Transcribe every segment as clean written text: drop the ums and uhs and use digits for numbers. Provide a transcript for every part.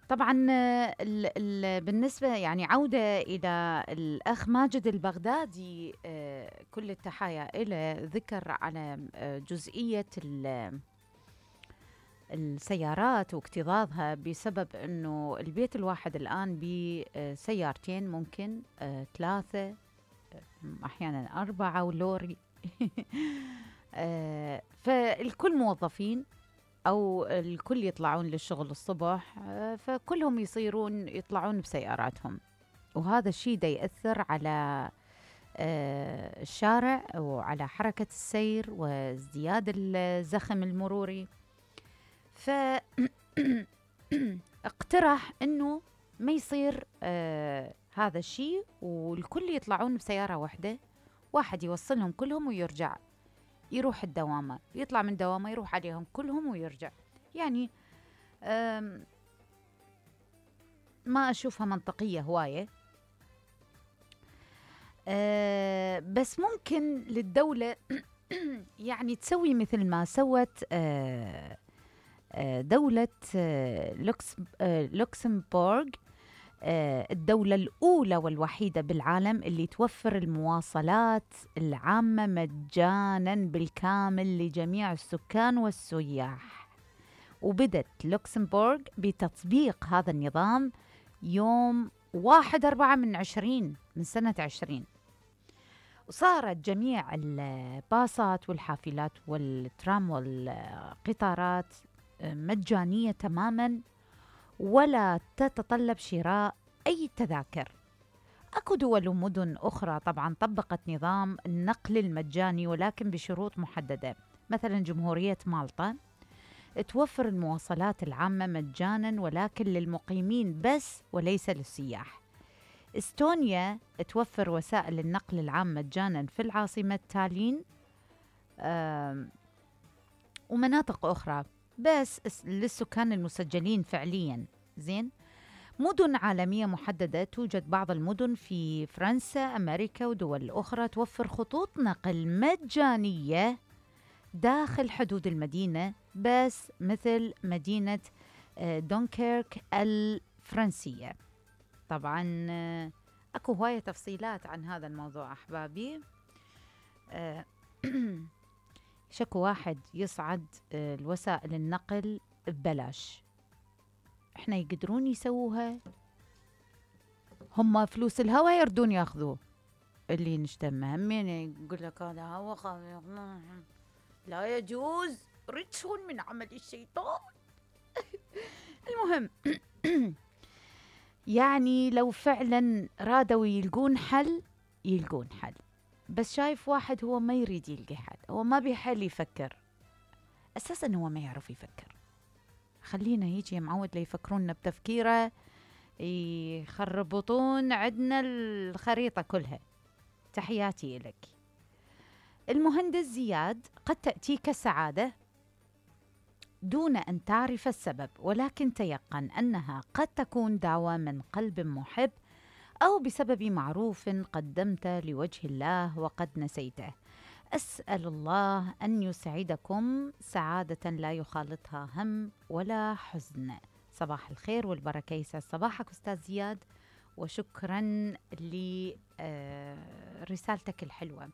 طبعا بالنسبة يعني عودة إلى الأخ ماجد البغدادي، كل التحايا إلى ذكر على جزئية السيارات واكتظاظها، بسبب أنه البيت الواحد الآن بسيارتين، ممكن 3، أحيانا 4 ولوري. فالكل موظفين أو الكل يطلعون للشغل الصبح، فكلهم يطلعون بسياراتهم، وهذا الشيء دا يأثر على الشارع وعلى حركة السير وازدياد الزخم المروري. فاقترح أنه ما يصير هذا الشيء، والكل يطلعون بسيارة واحدة، واحد يوصلهم كلهم ويرجع، يروح الدوامة، يطلع من دوامة يروح عليهم كلهم ويرجع. يعني ما أشوفها منطقية هواية. بس ممكن للدولة يعني تسوي مثل ما سوت دولة لوكسمبورغ، الدولة الأولى والوحيدة بالعالم اللي توفر المواصلات العامة مجاناً بالكامل لجميع السكان والسياح. وبدت لوكسمبورغ بتطبيق هذا النظام يوم 1/4 من سنة 20. وصارت جميع الباصات والحافلات والترام والقطارات مجانية تماماً، ولا تتطلب شراء أي تذاكر. أكو دول ومدن أخرى طبعاً طبقت نظام النقل المجاني، ولكن بشروط محددة. مثلاً جمهورية مالطا توفر المواصلات العامة مجاناً، ولكن للمقيمين بس وليس للسياح. استونيا توفر وسائل النقل العام مجاناً في العاصمة تالين ومناطق أخرى، بس للسكان المسجلين فعلياً. زين. مدن عالمية محددة، توجد بعض المدن في فرنسا، أمريكا ودول أخرى توفر خطوط نقل مجانية داخل حدود المدينة بس، مثل مدينة دونكيرك الفرنسية. طبعاً أكو هواية تفصيلات عن هذا الموضوع أحبابي. شكو واحد يصعد الوسائل النقل ببلاش، احنا يقدرون يسووها؟ هم فلوس الهوا يردون ياخذوه، اللي نشتم همين يقول لك هذا هوا لا يجوز، رجس من عمل الشيطان. المهم يعني لو فعلا رادوا يلقون حل يلقون حل، بس شايف واحد هو ما يريد يلقي حل، هو ما بيحل يفكر، أساسا هو ما يعرف يفكر. خلينا يجي معود ليفكرونا بتفكيره، يخربطون عندنا الخريطة كلها. تحياتي لك. المهندس زياد: قد تأتيك السعادة دون أن تعرف السبب، ولكن تيقن أنها قد تكون دعوة من قلب محب أو بسبب معروف قدمت لوجه الله وقد نسيته. أسأل الله أن يسعدكم سعادة لا يخالطها هم ولا حزن. صباح الخير والبركة، يسعد صباحك أستاذ زياد، وشكرا لرسالتك الحلوة.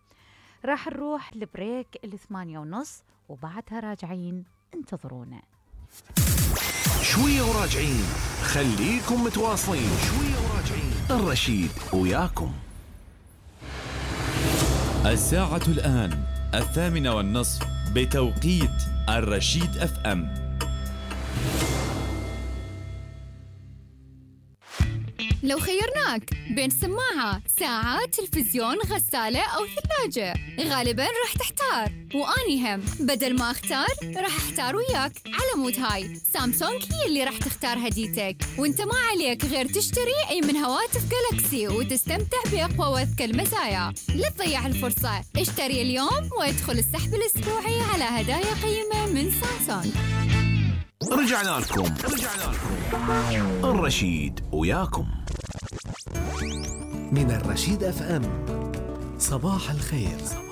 راح نروح لبريك 8:30 وبعدها راجعين، انتظرونا. شوية وراجعين، خليكم متواصلين. شوية وراجعين، الرشيد وياكم. الساعة الآن 8:30 بتوقيت الرشيد FM. لو خيرناك بين سماعة، ساعة، تلفزيون، غسالة أو ثلاجة، غالباً راح تحتار، وأني هم بدل ما أختار راح أحتار وياك. على مود هاي سامسونج هي اللي راح تختار هديتك، وانت ما عليك غير تشتري أي من هواتف جالاكسي وتستمتع بأقوى وأذكى المزايا. لا تضيع الفرصة، اشتري اليوم وادخل السحب الأسبوعي على هدايا قيمة من سامسونج. رجعنا لكم الرشيد وياكم من الرشيد FM. صباح الخير.